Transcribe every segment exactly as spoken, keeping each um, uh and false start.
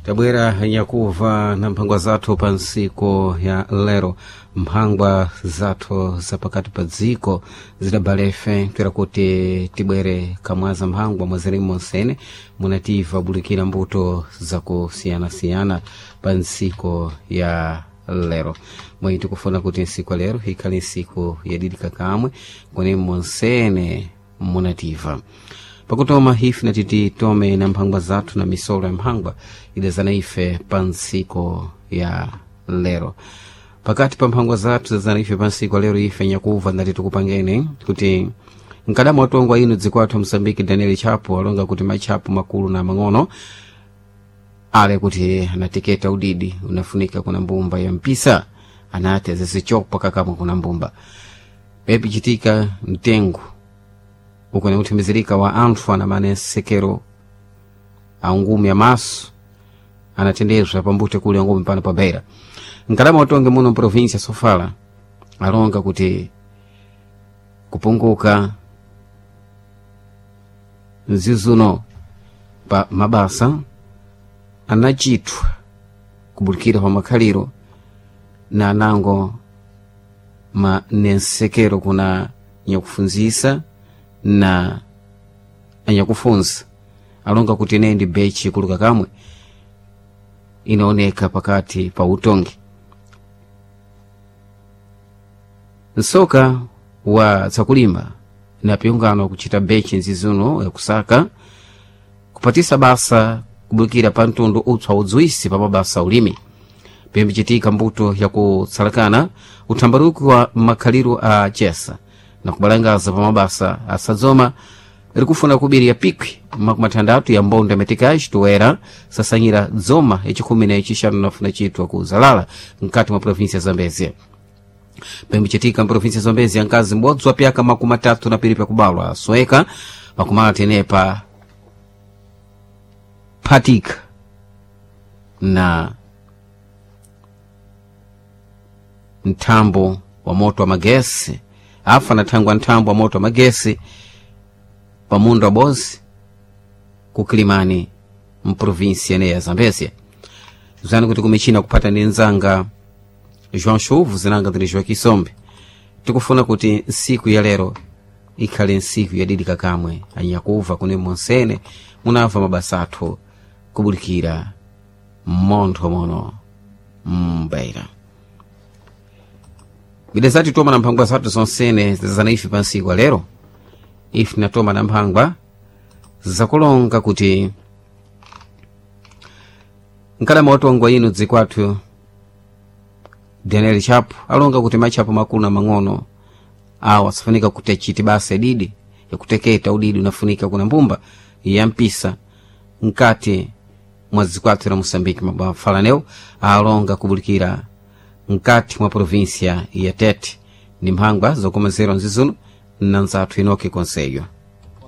Tabwera nyakuva na mphangwa zathu pa ntsiku ya lero, mphangwa zathu zapakati pa dziko zidabalefe toera kuti tibwere kamwaza mphangwa mwazirimu monsene munativa bulikira mbuto zakusiyanasiyana pa ntsiku ya lero. Mwayi tikufuna kuti ntsiku ya lero ikhale ntsiku yadidika kamwe kune monsene munativa pakutoma ife natiti tome na mphangwa zathu na misolo ya mphangwa idazana ife pa ntsiku ya lero. Pakati pa mphangwa zathu zazana ife pa ntsiku ya lero, ife nyakuva ndati tikupangene kuti mkadama watongwa ino dziko athu Msambiki Daniel Chapo alonga kuti matchapo makulu na mang'ono ale kuti anateketa udidi unafunika kuna mbumba ya mpisa, anati azizichopa kakamwe kuna mbumba pepichitika mtengo ukone kuthimizirika wa anthu anamane nsekero angumi amaso anatendezwa pambute kuli angumi pano pa Beira. Mkalama utonge muno mprovinsia Sofala alonga kuti kupunguka mzizuno pa mabasa anachithwa kubulikira pa makhaliro na anango ma nensekero kuna nyakufunzisa na anyakufunza alonga kuti ineyi ndi bechi kuluka kamwe inaoneka pakati pa utongi. Nsoka wa tsakulima na piungano kuchita bechi nzizuno yakusaka kupatisa basa kubulikira pa mtundu utswa udzwisi pa mabasa ulimi pimbichitika mbuto yakutsalakana uthambaruki wa makhaliro a chesa na kubalangaza pa mabasa asadzoma likufuna kubiri ya pikwi makumi atandatu ya mbonda metikaji toera sasanyira dzoma yachikhumi na yachixanu nafuna chitwa ku zalala mkati mwa provinsia ya Zambezia. Pembichitika mprovinsia ya Zambezia nkazi m'bodzi wa pyaka makumi atatu na piri pyakubalwa asweka pakumala tenepa phatika na mthambo wa moto wa magesi afa anathangwa nthambo wa moto wa magesi pamunda wabozi kukilimani mprovinsia ene ya Zambezia. Zani kuti kumichina kupata ndi nzanga João Chuvu zinanga ndili João Kisombe. Tikufuna kuti ntsiku ya lero ikhale ntsiku yadidika kamwe anyakuva kune monsene munamva mabasa athu kubulikira mmontho mono mbeira bide zati toma na mphangwa zathu zonsene zazana ife pa ntsiku lero. Ife tinatoma na mphangwa zakulonga kuti mkalama watongwa ino dziko athu Daniel Chapo alonga kuti matchapo makulu na mang'ono awa asafunika kuti achite basa ididi yakuteketa udidi unafunika kuna mbumba ya mpisa mkati mwa dziko athu la Moçambique. Mafalaneo alonga kubulikira mkati mwa provinsia ya Tete ndi mphangwa zokomezerwa nzizuno na nzathu Enoke Konseyo.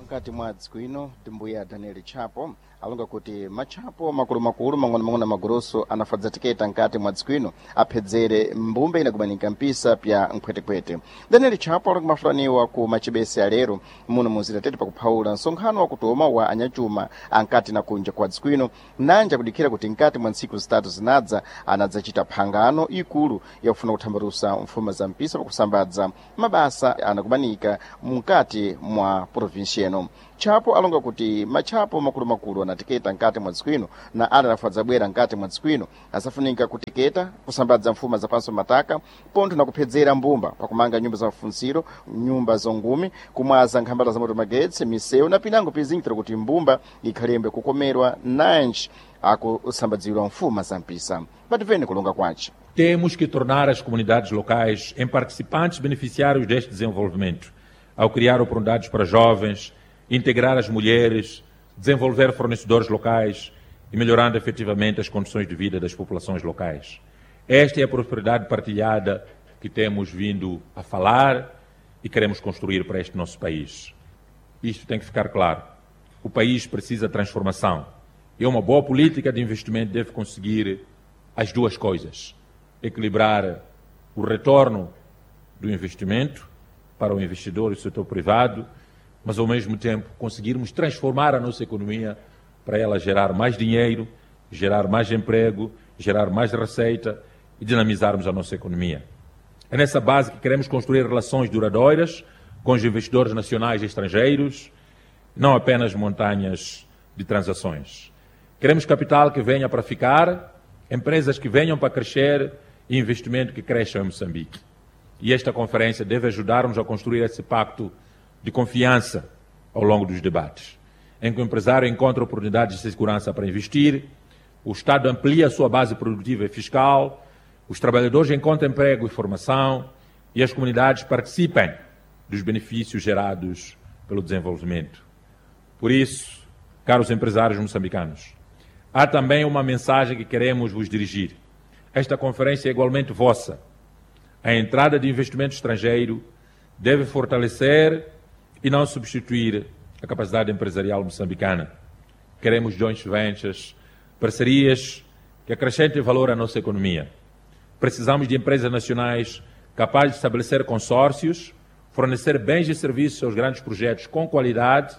Mkati mwa dziko ino timbuya Daniel Chapo alonga kuti matchapo makulumakulu mang'onomang'ono magrosso anafadza tiketa nkati mwa dziko ino aphedzere mbumba inakumanika mpisa pya nkhwetekhwete. Daniel Chapo alonga mafulaniwa ku machibese alero muno muzira Tete pakuphawula nsonkhano wakutoma wa anyachuma ankati na kunja kwa dziko ino nanja kudikhira kuti nkati mwa ntsiku zitatu zinadza anadzachita phangano ikulu yakufuna kuthambalusa mfuma za mpisa pakusambadza mabasa anakumanika mkati mwa provinsi eno. Chapo alonga kuti matchapo makulumakulu anateketa nkati mwa dziko ino na ali anafadza bwera nkati mwa dziko ino asafunika kuteketa kusambadza mfuma zapanso mataka pontho na kuphedzera mbumba pakumanga nyumba za mafunsiro, nyumba zongumi, kumwaza nkhambala za moto magetsi, misewu na pinango pizinjira kuti mbumba ikhalembe kukomerwa nanji akusambadzidwa mfuma za mpisa. Pativene kulonga kwace. Temos que tornar as comunidades locais em participantes beneficiários deste desenvolvimento, ao criar oportunidades para jovens, integrar as mulheres, desenvolver fornecedores locais e melhorando efetivamente as condições de vida das populações locais. Esta é a prosperidade partilhada que temos vindo a falar e queremos construir para este nosso país. Isto tem que ficar claro. O país precisa de transformação. E uma boa política de investimento deve conseguir as duas coisas: equilibrar o retorno do investimento para o investidor e o setor privado, mas ao mesmo tempo conseguirmos transformar a nossa economia para ela gerar mais dinheiro, gerar mais emprego, gerar mais receita e dinamizarmos a nossa economia. É nessa base que queremos construir relações duradouras com os investidores nacionais e estrangeiros, não apenas montanhas de transações. Queremos capital que venha para ficar, empresas que venham para crescer e investimento que cresça em Moçambique. E esta conferência deve ajudar-nos a construir esse pacto de confiança ao longo dos debates, em que o empresário encontra oportunidades de segurança para investir, o Estado amplia a sua base produtiva e fiscal, os trabalhadores encontram emprego e formação e as comunidades participem dos benefícios gerados pelo desenvolvimento. Por isso, caros empresários moçambicanos, há também uma mensagem que queremos vos dirigir. Esta conferência é igualmente vossa. A entrada de investimento estrangeiro deve fortalecer e não substituir a capacidade empresarial moçambicana. Queremos joint ventures, parcerias que acrescentem valor à nossa economia. Precisamos de empresas nacionais capazes de estabelecer consórcios, fornecer bens e serviços aos grandes projetos com qualidade,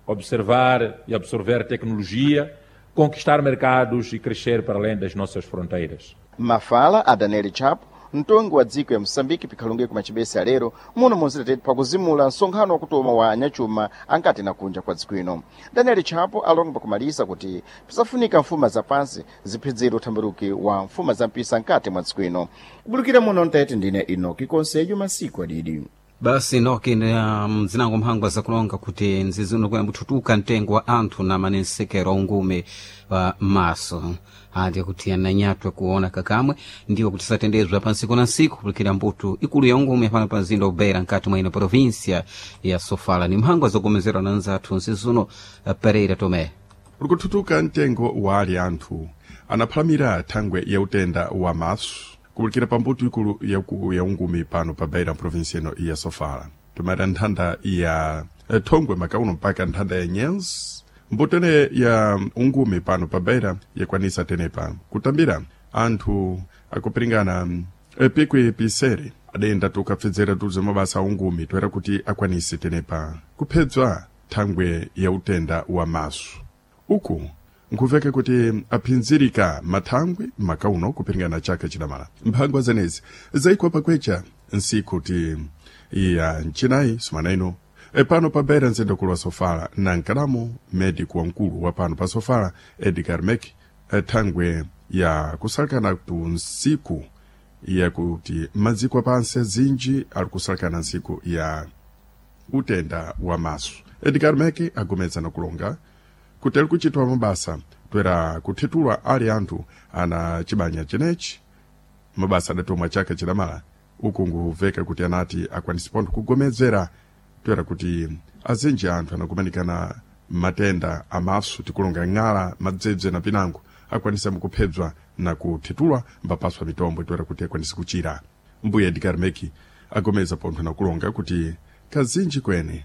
observar e absorver tecnologia, conquistar mercados e crescer para além das nossas fronteiras. Mafala a Daniel Chapo, mtongi wa dziko ya Moçambique pikhalunge kumachibesa lero muno munzitetete pakuzimula msonkhano wakutoma wa anyachuma ankati na kunja kwa dziko ino. Daniel Chapo alonga pakumalisa kuti pisafunika mfuma zapansi ziphedzere uthambiruki wa mfuma za mpisa nkati mwa dziko ino. Kubulukira muno mtete ndine Inoki Konsejo masiku adidi. Basi noki mzinango mphangwa zakulonga kuti nzizi uno kuyamba mtengo wa anthu na manensekero aungume wa maso andi kuti ananyatwe kuona kakamwe ndiwo kuti satendezwa pa nsiku na nsiku kulikira mbuto ikulu ya ungume pano pa mzinda ubeira nkati mwa ino província ya Sofala. Ni mphangwa zogomezerwa na nzathu nzizi uno Pereira Tomé. Ulikuthuthuka mtengo wa ali anthu anaphalamira thangwe ya utenda wa maso kubulikira pambuto ikulu yaku ya ungumi pano pa Beira província ino ya Sofala. Tumata nthanda ya thongwe makauno mpaka nthanda ya Nyenzi mbuto ene ya ungumi pano pa Beira yakwanisa tenepa kutambira anthu akupiringana pikwi pisere adayenda tukapfedzera tuze mabasa a ungumi toera kuti akwanise tenepa kuphedzwa thangwe ya utenda wa maso. Uku nkuveka kuti aphinzirika mathangwe makauno kupiringana chaka chidamala. Mphangwa zenezi zaikwa pakwecha nsiku ti ya mchinayi sumana ino e pano pa Beira mzinda wa Sofala na nkalamu medico wamkulu wa pano pa Sofala Edgar Mek thangwe ya kusalakana tu nsiku yakuti maziko apansi azinji ali kusalakana nsiku ya utenda wa maso. Edgar Mek agomeza na kulonga kuti ali kuchitwa mabasa toera kuthethulwa ali anthu ana chibanya chenechi mabasa adatomwa chaka chidamala uku nguveka kuti anati akwanise pontho kugomezera toera kuti azinji anthu anakumanikana matenda amaso tikulonga ng'ala madzebze na pinango akwanisa mukuphedzwa na kuthethulwa mbapaswa mitombo toera kuti akwanise kuchira. Mbuya Edgar Meki agomeza pontho nakulonga kuti kazinji kwene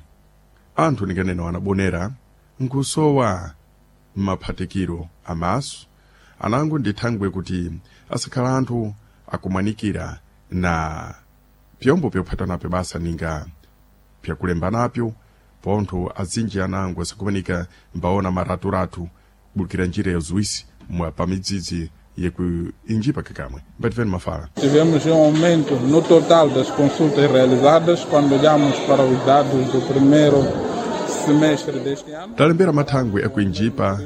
anthu ninganena wanabonera nkusowa maphatikiro amaso anango ndi thangwe kuti asakhala anthu akumwanikira na pyombo pyophata napyo basa ninga pyakulemba napyo pontho azinji anango asakumanika mbaona maraturatu kubulikira njira ya zuwisi mwa pamidzidzi yekuinjipa kakamwe. Mbativeni mafala. Tivemos um aumento no total das consultas realizadas quando olhamos para os dados do primeiro semestre deste ano. Talembera mathangwe akuinjipa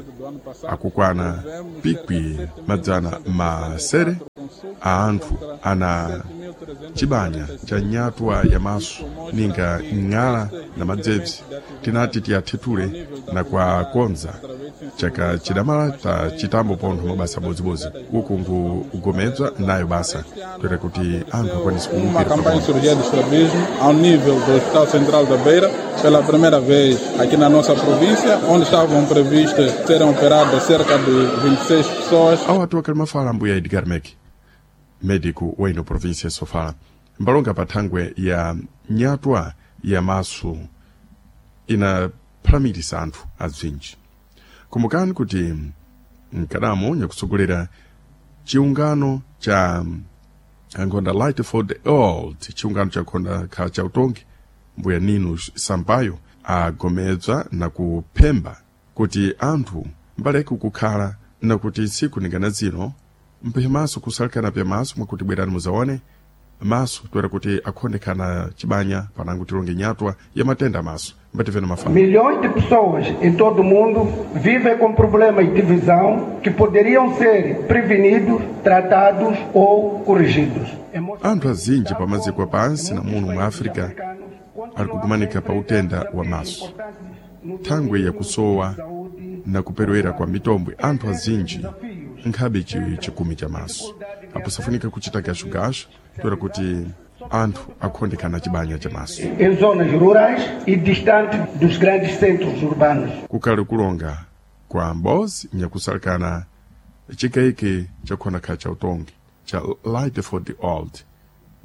akukwana pikwi madzana masere a anthu ana chibanya cha nyatwa ya maso ninga ng'ala na madzebzi tinati tiyathethule na kwakonza chaka chidamala ta chitambo pontho mabasa abodzibodzi uku nkugomedzwa nayo basa toera kuti anthu akwanise Uma kuwukira campanha de pamodzi. cirurgia de estrabismo ao nível do Hospital Central da Beira, pela primeira vez aqui na nossa província, onde estavam previstas serem operadas cerca de vinte e seis pessoas. Awo atu akali mafala ambuya Edgar Mek, médico wa ino província ya Sofala, mbalonga pa thangwe ya nyatwa ya maso inaphalamilisa anthu azinji. Kumbukani kuti mkadamo nyakutsogolera chiungano cha ankhonda Light for the Old, chiungano cha nkhonda khala cha utongi, mbuya Nino Sampaio agomedza na kuphemba kuti anthu mbaleke kukhala Nakuti ntsiku ningana zino mphe maso kusalekana pya maso mwakuti bwerani muzaone maso toera kuti akhondekana chibanya panango tilonge nyatwa ya matenda maso mbativena mafala. Milhões de pessoas em todo o mundo vivem com problemas de visão que poderiam ser prevenidos, tratados ou corrigidos. Anthu azinji pa maziko apansi na muno mu África ali kukumanika pa utenda wa maso thangwe yakusowa na kuperewera kwa mitombwe. Anthu azinji nkhabe chi chikumi cha maso apo safunika kuchita gashugashu toera kuti anthu akhondekana chibanya cha maso em zonas rurais e distante dos grandes centros urbanos. Kukali kulonga kwa mbozi nyakusalekana chikaiki chakhonakha cha utongi cha Light for the Old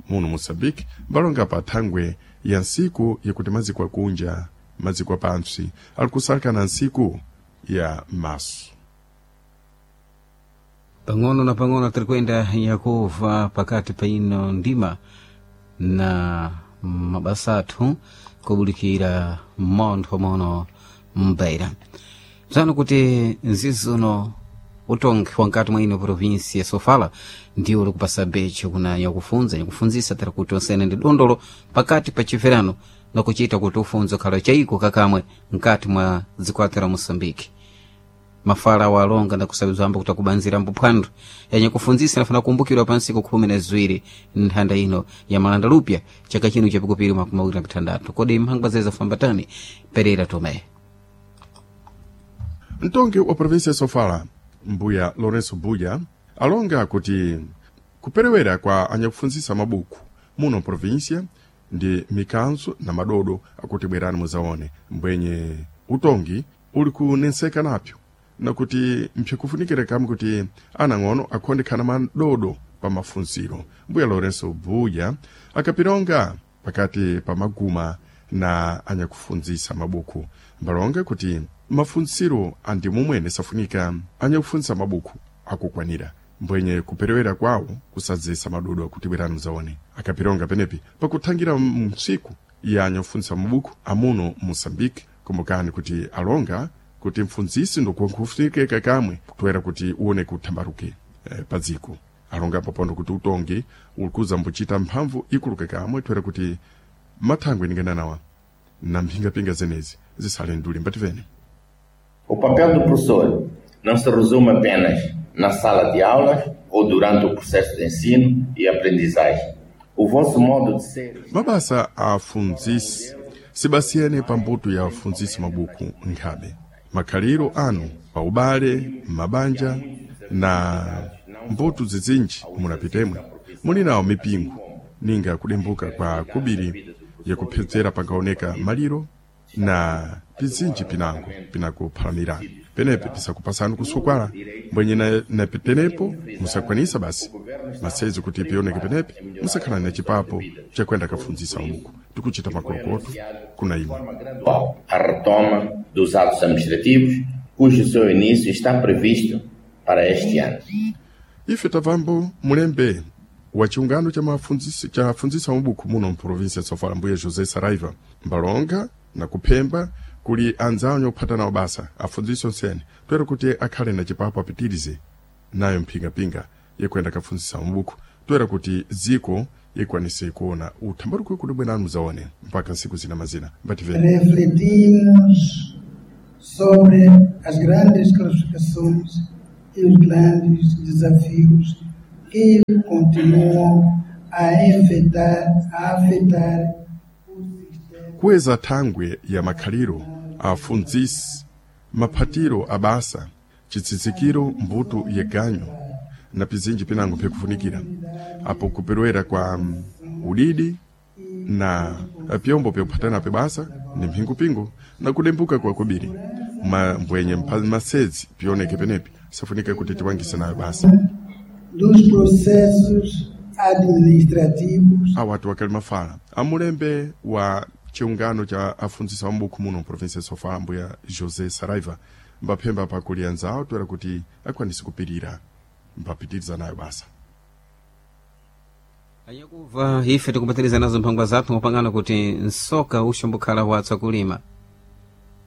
muno Moçambique mbalonga pa thangwe ya nsiku yakuti maziko akunja maziko apantsi ali kusalekana nsiku ya maso. Pang'ono na pang'ono tiri kuyenda yakuva pakati pa ino ndima na mabasa athu kubulikira montho mono mbeira psano kuti nzizuno utongi wankati mwa ino provinsi ya Sofala ndiwo likupasa becho kuna yakufunza yakufunzisa tiri kuti onsene ndi dondolo pakati pa chiverano nakuchita kuti ufunzo khala chaiko kakamwe mkati mwa dzikwati la Moçambique. Mafala awo alonga ndakusabizwa amba kuti akubanzira mbuphwando yanye kufunzisa nafuna kumbukirwa pa ntsiku khumi na ziwiri nthanda ino ya malanda lupya chaka chino chapikupiri makumi awiri na pithandatu. Kodi mphangwa zeza fambatani Pereira Tomé. Mtongi wa provinsi ya Sofala mbuya Lourenço Buya alonga kuti kuperewera kwa anyakufunzisa mabuku muno provinsia ndi mikanzo na madodo akuti bwerani muzaone mbwenye utongi uli kunenseka napyo nakuti mpyakufunikira kamwe kuti anang'ono akhondekhana madodo pa mafunziro. Mbuya Lourenço Buya akapilonga pakati pa maguma na anyakufunzisa mabuku mbalonga kuti mafunziro andi mumwene safunika anyakufunzisa mabuku akukwanira mbwenye kuperewera kwawo kusadzesa madodo akuti bwerani muzaone. Akapilonga penepi pakuthangira msiku ya anyakufunzisa mabuku amuno Moçambique. Kumbukani kuti alonga kuti mfunzisi ndikufunikeka kamwe kutwera kuti uone kuthambaruke eh, pa dziko alonga papondo kuti utongi ulikuza mbuchita mphamvu ikuluke kamwe twera kuti mathangwe ningananawa na mphingapinga zenezi zisale nduli mbativene. O papel do professor não se resume apenas na sala de aulas ou durante o processo de ensino e aprendizagem. O vosso modo de ser. Mabasa afunzisi sibasiyene pa mbuto ya afunzisi mabuku nkhabe makhaliro anu pa ubale mabanja na mbuto zizinji munapitemwe muli nawo mipingo ninga kudembuka kwa kubiri yakuphedzera pangaoneka maliro na pizinji pinango pinakuphalamira penepe pisakupasani kusukwala mbwenye na, na penepo musakwanisa basi masezi kuti pioneke penepe musakhala na chipapo chakwenda kafunzisa mabuku tikuchita makolokoto kuna imwe. A retoma dos atos administrativos, cujo seu início está previsto para este ano. Ife tavambo mulembe wa chiungano cha mafunzisi cha funzisa mabuku muno mprovinsi ya Sofala mbuye José Saraiva mbalonga na kuphemba kuli anzawo ophata nawo basa afunzisi onsene toera kuti akhale na chipapo apitirize nayo mphingapinga yekwenda kafunzisa mabuku toera kuti dziko ikwanise kuona uthambaruko kuti bwenani muzaone mpaka nsiku zina mazina mbativeni. Refletimos sobre as grandes classificações e os grandes desafios que continuam a afetar, a afetar o sistema. Kuweza thangwe ya makhaliro afunzisi maphatiro abasa chitsitsikiro mbuto yeganyo na pizinji pinango phikufunikira apo kuperewera kwa mm, udidi na pyombo pyokuphatana pe basa ni mphingupingo na kudembuka kwa kubiri mbwenye masezi pioneke penepi safunika kuti tiwangise nayo basa dos processos administrativos. Awatu wakali mafala amulembe wa chiungano cha afunzisa wa mabuku muno mprovinsi ya Sofala mbuya José Saraiva mbaphemba pakuli anzawo toera kuti akwanise kupirira mbapitiriza nayo basa. Anyakuva ife tikubatiriza nazo mphangwa zathu ngopangana kuti nsoka uxombokhala watsa kulima.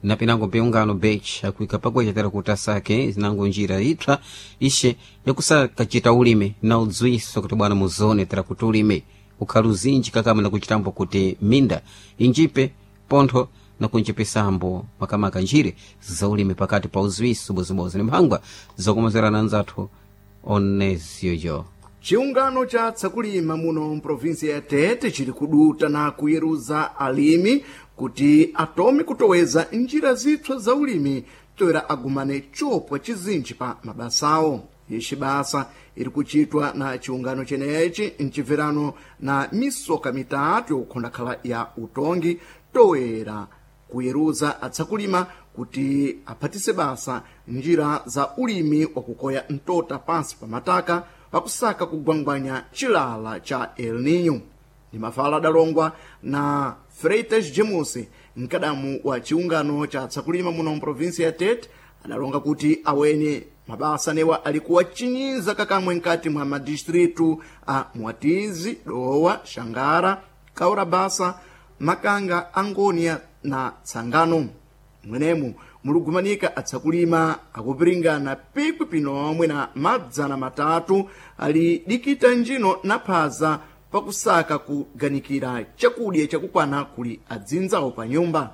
Na pinango mpiungano bech akuika pagwecha tera kuti asake zinango njira ipsa ishe yakusakachita ulimi na udzwiso kuti bwana muzone tera kuti ulimi ukhali uzinji kakama nakuchitambo kuti minda injipe pontho nakunjipisambo makamaka njire za ulimi pakati pa uzwiso bozibodzi ni mphangwa zokomozerana anzathu oneziyoyo. Chiungano cha tsakulima muno mprovinsia ya Tete chili kuduta na kuyeruza alimi kuti atome kutoweza njira zipsa za ulimi toera agumane chopwa chizinji pa mabasawo. Ixi basa iri kuchitwa na chiungano chenechi mchibverano na misoka mitatu yokukhondakhala ya utongi toera kuyeruza atsakulima kuti aphatise basa njira za ulimi wakukoya mtota pansi pa mataka pakusaka kugwangwanya chilala cha El Nino. Ni mafala adalongwa na Freitas James, mkadamu wa chiungano cha tsakulima muno mprovinsia ya Tete, adalonga kuti awene mabasa newa alikuwa chinyiza kakamwe nkati mwa madistritu a Mwatizi, Dowa, Xangara, Kaurabasa, Makanga, Angonia na Tsangano. Mwenemu mulugumanika atsakulima akupiringana pikwi pinomwe na madzana matatu ali dikita njino na phaza pakusaka kuganikira chakudya chakukwana kuli adzinzawo pa nyumba.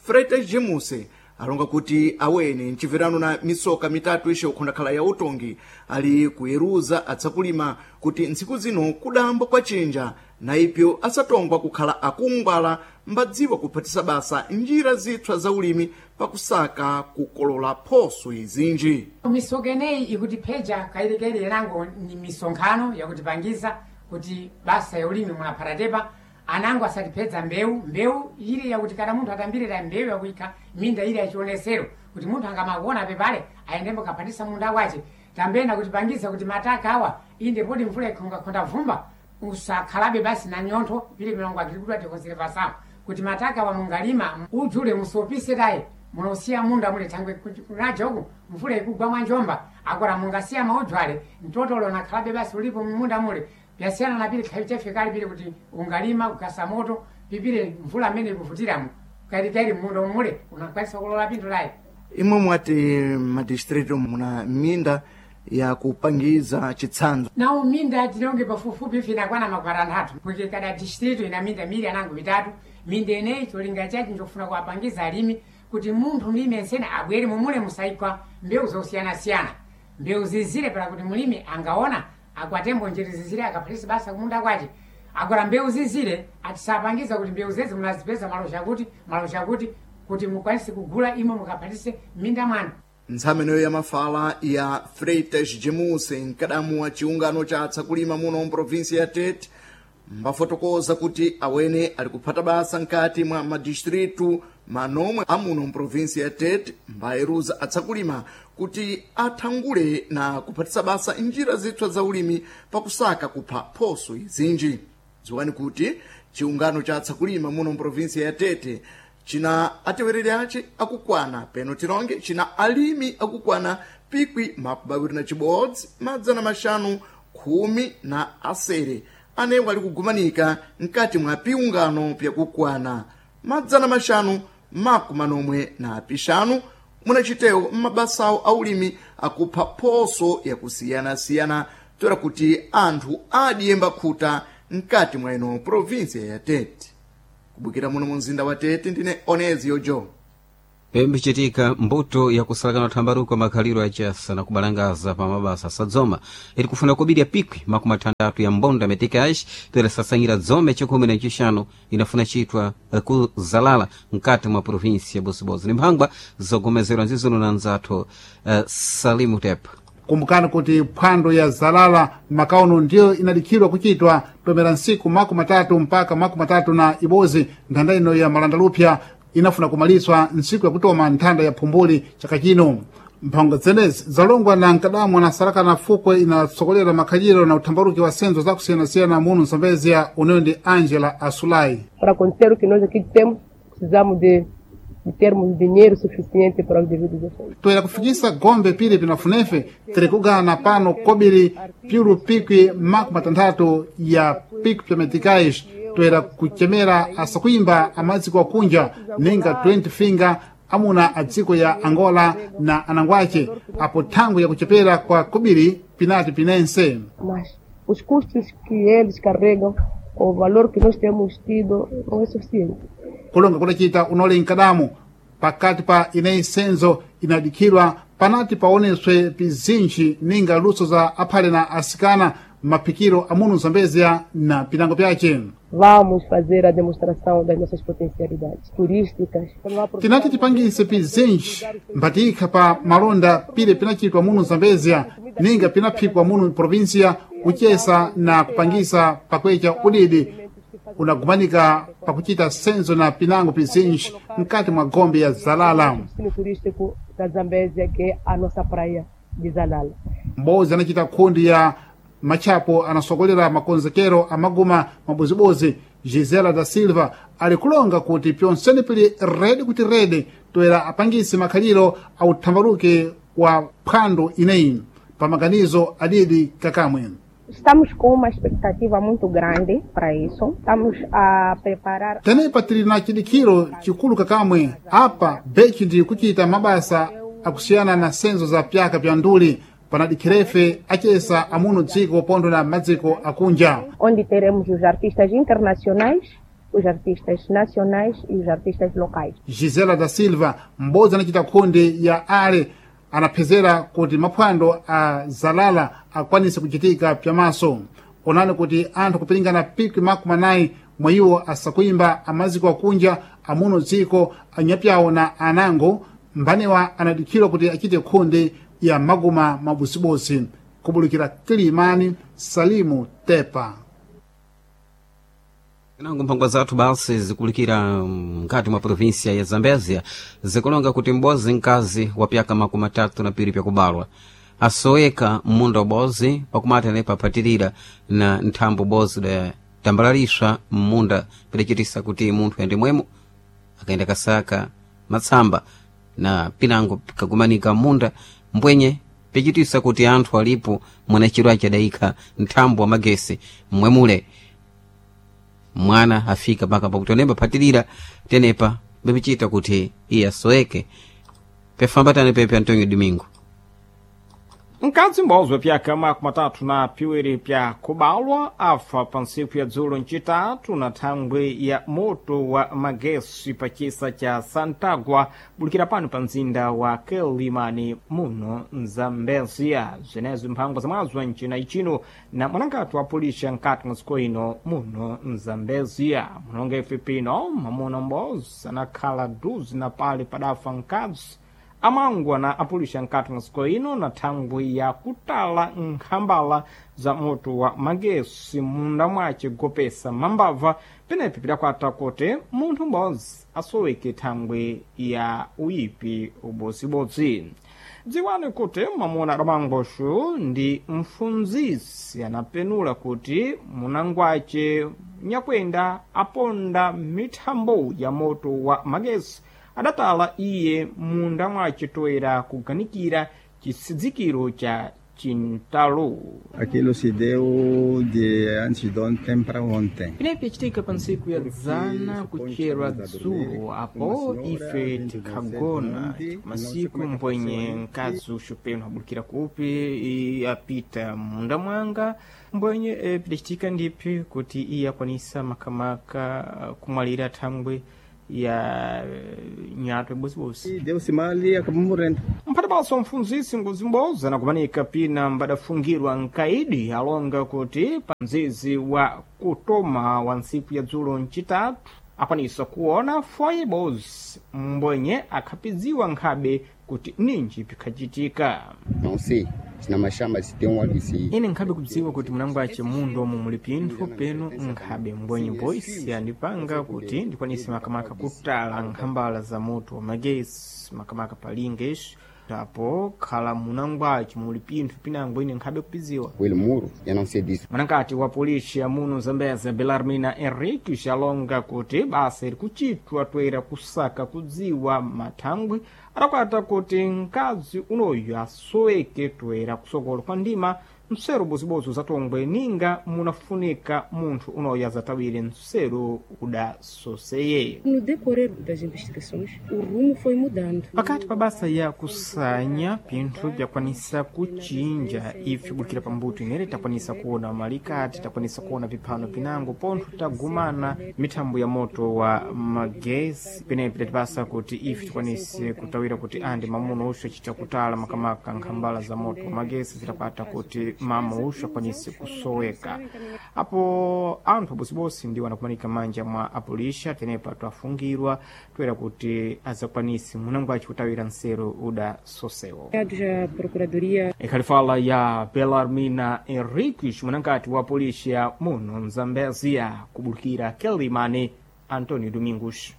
Freitas Jemuse alonga kuti awene mchibverano na misoka mitatu ishe ukhondakhala ya utongi ali kuyeruza atsakulima kuti ntsiku zino kudambo kwa chinja na ipyo asatongwa kukhala akungwala mbadziwa kuphatisa basa njira zipsa za ulimi pakusaka kukolola phoso izinji. Misoka ineyi ikutipheja kairikairi yanango ni misonkhano yakutipangiza kuti basa ya ulimi munaphatatepa anango asatipedza mbewu mbewu ili yakuti kana munthu atambirira mbewu yakuikha minda ili yachionesero kuti munthu angamakuona pepale ayendembo kaphatisa munda wace. Tambena kutipangiza kuti mataka awa inde poti mvula ikhongakhonda vumba usakhalabe basi na nyontho pili milongo agirikuti atikonzere pasapo kuti mataka awa mungalima ujule musopise tayi munosiya munda mule thangwe kunaja uku mvula ikugwa mwanjomba akora mungasiya maujwale mtotolo nakhalabe basi ulipo munda mule byasiyana na pili khayi chafikali pili kuti ungalima ukasa moto pipile mvula amene ikuvutiramo kairikairi munda umule unakwanisa kulola pinthu layi. Imwe mwati madistritu muna minda yakupangiza chitsanzo. Nawo minda tilonge pafupifupi ife inakwana makwara anthatu porque kada distrito ina minda mili anango mitatu. Minda ineyi cholinga chachi njofuna kuwapangiza alimi kuti munthu mlimi ensene abwere mumule musaikwa mbewu zosiyanasiyana mbewu zizire para kuti mulimi angaona akwatembo njere zizire akaphatisa basa kumunda kwace. Agora mbewu zizire atisapangiza kuti mbewu zezi munazipeza malo chakuti malo chakuti kuti mukwanise kugula imwe mukaphatise minda mwanu. Ntsameneyo ya mafala ya Freitas Jemuse, mkadamu wa chiungano cha atsakulima muno mprovinsia ya Tete, mbafotokoza kuti awene ali kuphata basa nkati mwa madistritu manomwe amuno mprovinsia ya Tete mbayeruza atsakulima kuti athangule na kuphatisa basa njira zipsa za ulimi pakusaka kupha phoso izinji. Dziwani kuti chiungano cha atsakulima muno mprovinsia ya Tete china atewereri ace akukwana peno tilonge china alimi akukwana pikwi makumi awiri na chibodzi madzana maxanu khumi na asere anewo ali kugumanika mkati mwa piungano pyakukwana madzana maxanu makumi manomwe na pixanu munachitewo m'mabasawo aulimi akupha phoso yakusiyanasiyana toera kuti anthu adiyemba khuta mkati mwa ino provinsia ya Tete. Kubukira muno mu mzinda wa Tete ndine Onezio Joe. Pembichitika mbuto yakusalakana thambaruko makhaliro achasa na kubalangaza pa mabasa asadzoma iri kufuna kubirya pikwi makumi atandatu ya mbonda metikax toera sasanyira dzome chikhumi na chixanu inafuna chitwa kuzalala mkati mwa provinsia ya Bozibodzi ni mphangwa zogomezerwa nzizono na nzathu uh, Salimu Tep. Kumbukani kuti phwando ya zalala makauno ndiyo inadikhidwa kuchitwa tomera ntsiku makumi matatu mpaka makumi matatu na ibodzi. Nthanda ino ya malandalupya inafuna kumaliswa ntsiku yakutoma nthanda ya phumbuli chaka chino. Mphangwa zenezi zalongwa na mkadamu anasalakana fukwe inatsogolera makhaliro na uthambaruki wa senzo zakusiyanasiyana muno Msambezia uneyo ndi Angela Asulai. Para acontecer o que nós aqui temos, precisamos de de termos dinheiro suficiente para os devidos efeitos. Toera kufikisa gombe pili pinafunefe tiri kugana pano kobiri piulu pikwi makumi matanthatu ya pikwi pya meticais toera kuchemera asakuimba amaziko akunja ninga twenty finger amuna a dziko ya Angola na anangwace apo thangwi yakuchepera kwa kubiri pinati pinense. Mas os custos que eles carregam com o valor que nós temos tido não é suficiente. Kulonga kudacita unole nkadamu pakati pa ineyi senzo inadikhidwa panati paoneswe pizinji ninga luso za aphale na asikana maphikiro amunu Zambezia na pinango pyace. Vamos fazer a demonstração das nossas potencialidades turísticas. Tinati tipangise pizinji mbatikha pa malonda pile pinachitwa munu Zambezia ninga pinaphikwa munu provinsia kuchesa na kupangisa pakwecha udidi unagumanika pakuchita senzo na pinango pizinji mkati mwa gombe ya Zalala. Destino turístico da Zambésia, que é a nossa praia de Zalala. Mbozi anachita kundi ya machapo anasokolera makonzekero amaguma mabozibozi Gisela da Silva ali kulonga kuti pyonsene pili redi kuti redi toera apangise makhaliro authambaluke wa phwando ineyi pamaganizo adidi kakamwe. Estamos com uma expectativa muito grande para isso. Estamos a preparar. Tenepa tili na chidikhiro chikulu kakamwe apa bechi ndi kuchita mabasa akusiyana na senzo za pyaka pya nduli panadikhirefe achesa amuno dziko pondo na madziko akunja. Onde teremos os artistas internacionais, os artistas nacionais e os artistas locais. Gisela da Silva m'bodzi anachita kundi ya ale anaphezera kuti maphwando a Zalala akwanise kuchitika pyamaso. Onani kuti anthu kupiringana pikwi makumi anayi mwa iwo asakuyimba amaziko akunja amuno dziko anyapyawo na anango mbanewa anadikhirwa kuti achite khundi ya maguma mabusibusi kubulukira Kilimani. Salimu Tepa. Nango mphangwa zathu basi zikulikira mkati mwa provinsia ya Zambezia zikulonga kuti m'bozi mkazi wa pyaka makumi atatu na piri pyakubalwa asoweka m'munda ubozi pakumati anepa aphatirira na nthambo bozi da tambalaliswa m'munda pidacitisa kuti munthu ayende mwemo akaenda kasaka matsamba na pinango kagumanika m'munda mbwenye picitisa kuti anthu alipo mwanachiro achadayikha nthambo wa magesi mmwemule mwana afika paka pakuti onemba phatirira tenepa bepicita kuti iye asoweke pefambatane pepe Antonio Domingo. Mkadzi m'bodzi wa pyaka makumi atatu na piwiri pya kubalwa afa pa ntsiku ya dzulo ncitatu na thangwi ya moto wa magesi pa chisa cha Santagua bulikira pano pa mzinda wa Quelimane muno Mzambezia. Zwenezi mphangwa zamwazo ncina icino na mwanangati wa polisi nkati mwa dziko ino muno Mzambezia. Munonga ife pino mwamuna m'bodzi anakhala duzi na pale padafa mkadzi amangwa na apulisha nkati mwa dziko ino na thangwi ya kutala nkhambala za moto wa magesi munda mwace gopesa mambava penepi pidakwata kuti munthu m'bodzi asoweke thangwi ya uyipi ubozibodzi. Dziwani kuti mwamuna adamangosho ndi mfunzisi anapenula kuti munangwace nyakwenda aponda mithambo ya moto wa magesi adatala iye munda mwace toera kuganikira chisidzikiro cha chintalo. Aquilo se deu de antes de ontem para ontem. Pinepi yacitika pa ntsiku ya dzana kucherwa dzulo apo ife tikhagona masiku mbwenye mkazi uxupeno abulikira kupi apita munda mwanga mbwenye e, pidacitika ndiphi kuti iye akwanisa makamaka kumwalira thangwi ya nyato ibosibosi Deu-se mal e acabou morrendo. Mphatipanso mfunzisi nguzimboza anakumanika pina mbadafungirwa nkaidi alonga kuti pa mzizi wa kutoma wa ntsiku ya dzulo ncitatu akwanisa kuona foye ibodzi mbwenye akhapidziwa nkhabe kuti ninji pikhacitika. Não sei se na mashamba se tem um óleo se Ine nkhabe kudziwa kuti munangwace mundu omwe muli pinthu penu nkhabe mbwenye boisi andipanga kuti ndikwanise makamaka kutala nkhambala za moto wa magesi makamaka palinga ixi apo khala munangwace muli pinthu pinango ine nkhabe kupiziwa. o muro, eu não sei disso. Mwanakati wa polisi ya muno Zambezia Belarmina Henrique xalonga kuti basa iri kuchitwa toera kusaka kudziwa mathangwi adakwata kuti mkazi unoyu asoweke toera kusokolo kwa ndima mseru bozibozi uzatongwe ninga munafunika munthu unoya zatawire mseru udasoseye. No decorrer das investigações, o rumo foi mudando. Pakati pa basa ya kusanya pinthu byakwanisa kuchinja ife kubukira pambuto inere takwanisa kuona malikati, takwanisa kuona viphano pinango pontho tagumana mithambo ya moto wa magesi penepi tatipasa kuti ife tikwanise kutawira kuti andi mamuno uxo acita kutala makamaka nkhambala za moto wa magesi zitapata kuti mama uxo akwanise kusoweka. Apo anthu abosibosi ndiwo anakumanika manja mwa apolisha tenepa twafungirwa toera kuti azakwanise munango aci kutawira nseru uda sosewo. A Procuradoria Ikhalifala ya Belarmina Henriques munangati wa polícia muno mzambezia kubulukira Kelimane Antonio Domingos.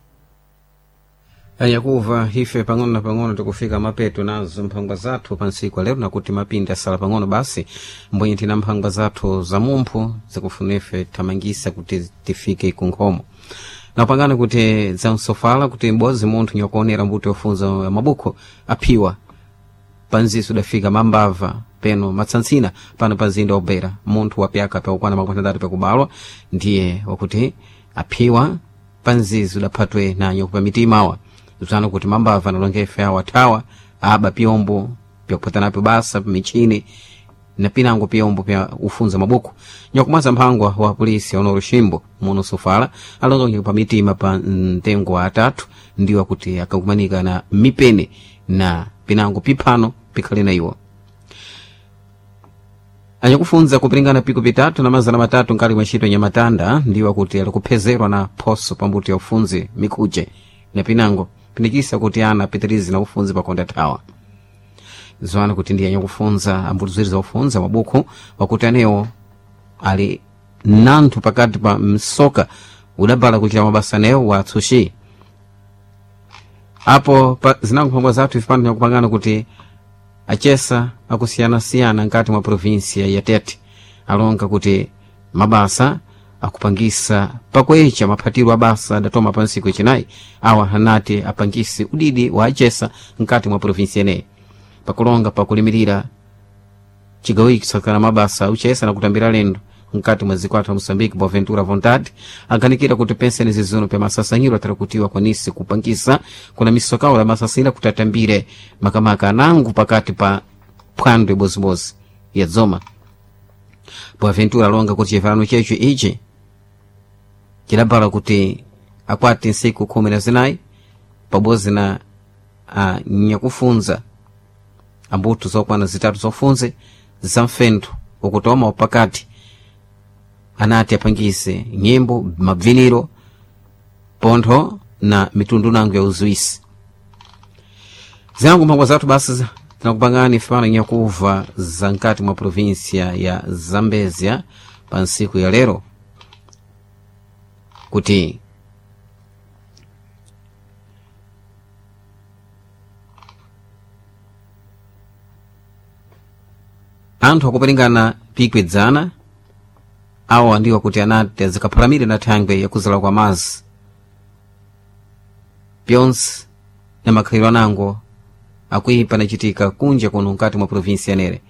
Anyakuva ife pang'ono na pang'ono tikufika mapeto nazo mphangwa zathu pa ntsiku lero nakuti mapinda asala pang'ono basi mbwenye tina mphangwa zathu za mumphu zikufuna ife thamangisa kuti tifike kunkhomo napangana kuti zamsofala kuti m'bodzi munthu nyakuonera mbuto yofunza mabuku aphiwa panziso udafika mambava peno matsantsina pano pa mzinda wobera munthu wapyaka pakukwana makumi atatu pakubalwa ndiye wakuti aphiwa panzizi udaphatwe nanyo pa mitimawa zano kuti mambava nalongefe awo athawa aba pyombo pyakuphatanapo basa pamichini na pinango pyombo pya ufunza mabuku nyakumwaza mphangwa wa polisi ono Luximbo muno Sofala alonga pa mitima pa mtengo wa atatu ndiwo kuti akakumanika na mipeni na pinango piphano pikhale na iwo anyakufunza kupilingana piko pitatu na mazana matatu nkali mwa ntchito nyamatanda ndiwo kuti alikuphezerwa na phoso pambuto ya ufunzi mikhuche na pinango pinikisa kuti ana apitirize na ufunzi pakonda thawa zwana kuti ndiye anyakufunza ambuto ziwiri za mabuku wakuti anewo ali nanthu pakati pa msoka udabala kuchita mabasa anewo wa atsushi apo pa zinango mphangwa zathu ife pano tinakupangana kuti achesa akusiyanasiyana nkati mwa provinsia ya Tete alonga kuti mabasa akupangisa pakwecha maphatiro abasa adatoma pa ntsiku yachinayi awa anati apangise udidi wa achesa nkati mwa provinsia ineyi pakulonga pakulimirira chigawo ichi kusakana mabasa auchesa na kutambira lendo nkati mwa dziko athu la Moçambique Boaventura Vontade ankanikira kuti penseni zizuno pya masasanyiro atarakutiwa kwanise kupangisa kuna misokawo la masasanyiro kuti atambire makamaka anango pakati pa phwando ibozimozi ya dzoma. Boaventura alonga kuti chivhalano checho ichi chidabala kuti akwati ntsiku khumi na zinayi pabodzi na anyakufunza ambuto zokwana zitatu zofunze za mfentho ukutoma upakati anati apangise nyimbo mabviniro pontho na mitundu nango ya uzuisi. Zinango mphangwa zathu basi tinakupangani fano nyakuva za nkati mwa provinsia ya Zambezia pa ntsiku ya lero kuti anthu akuperingana pikwedzana awa ndiwo kuti anati azikaphalamire na thangwe yakuzala kwa mazi pyonse na makhalidwe anango akuipa nachitika kunja kuno nkati mwa provinsi yanere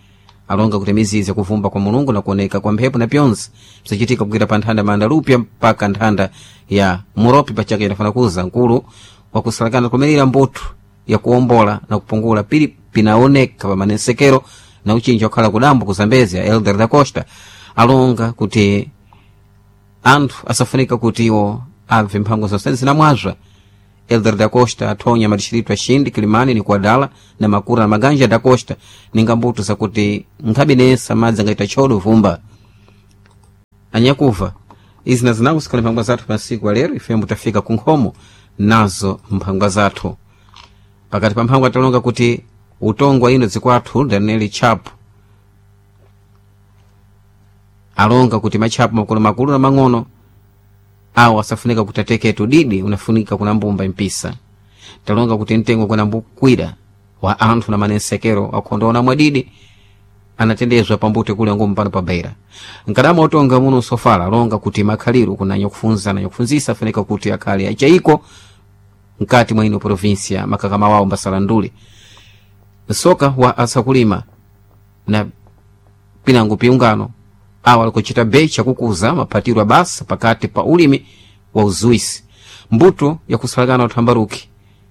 alonga kuti mizizi yakuvumba kwa mulungu na kuoneka kwa mphepo na pyonse bzachitika kugwira pa nthanda Mandalupya mpaka nthanda ya Muropi pachaka inafana kuza nkulu wakusalakana kumirira mbuthu yakuwombola na kupungula pili pinaoneka pa manensekero na uchinja wakhala kudambo ku Zambezia Elder da Costa alonga kuti anthu asafunika kuti iwo abve mphango zonse zinamwazwa. Elder da Costa athonya madishiritu axindi Kilimani ni Kuadala na Makura na Maganja da Costa ninga mbuto zakuti nkhabinesa madzi angaita chodo vumba anyakuva izi na zinango sikhala mphangwa zathu pa ntsiku ya lero ifembo tafika ku nkhomo nazo mphangwa zathu pakati pa mphangwa talonga kuti utongwa ino dzikwathu Daniel Chapo alonga kuti matchapo makulu makulu na mang'ono awo asafunika kuti ateketu didi unafunika kuna mbumba impisa talonga kuti mtengo kuna mbukwira wa anthu na manensekero akhondoona mwadidi anatendezwa pambuto kule ngumu pano pa Beira nkadama utonga muno sofala alonga kuti makhaliro kuna nyakufunza na nyakufunzisa afunika kuti akhale achaiko nkati mwa ino provinsia makakama wawo mbasalandule msoka wa asakulima na pinango piungano awa alikuchita becha kukuza maphatiro abasa pakati pa ulimi wa uzuisi mbuto yakusalakana uthambaruki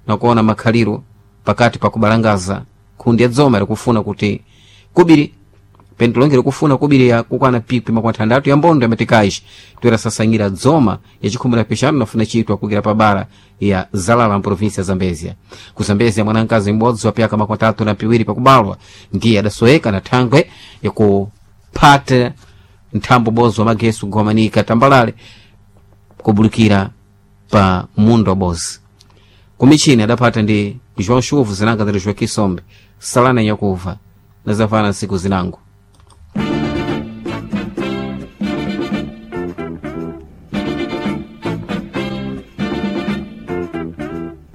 nakuona makhaliro pakati pa kubalangaza khundi ya dzoma likufuna kuti kubiri pentolonge likufuna kubiri ya kukwana pikwi makumi atandatu ya mbondo ya matikaji toera sasangira dzoma ya chikhumi na pixanu nafuna chitwa kukira pa bara ya zalala mprovinsia ya zambezia ku zambezia mwanamkazi m'bodzi wa pyaka makumi atatu na piwiri pakubalwa ndiye adasoeka na thangwe yakuphata nthambo bodzi wa magesu kugomanika tambalale kubulikira pa mundo wabozi kumichini adaphata ndi João Chuvu zinanga zali Joaquim Sombe salana nyakuva nazafana nsiku zinango.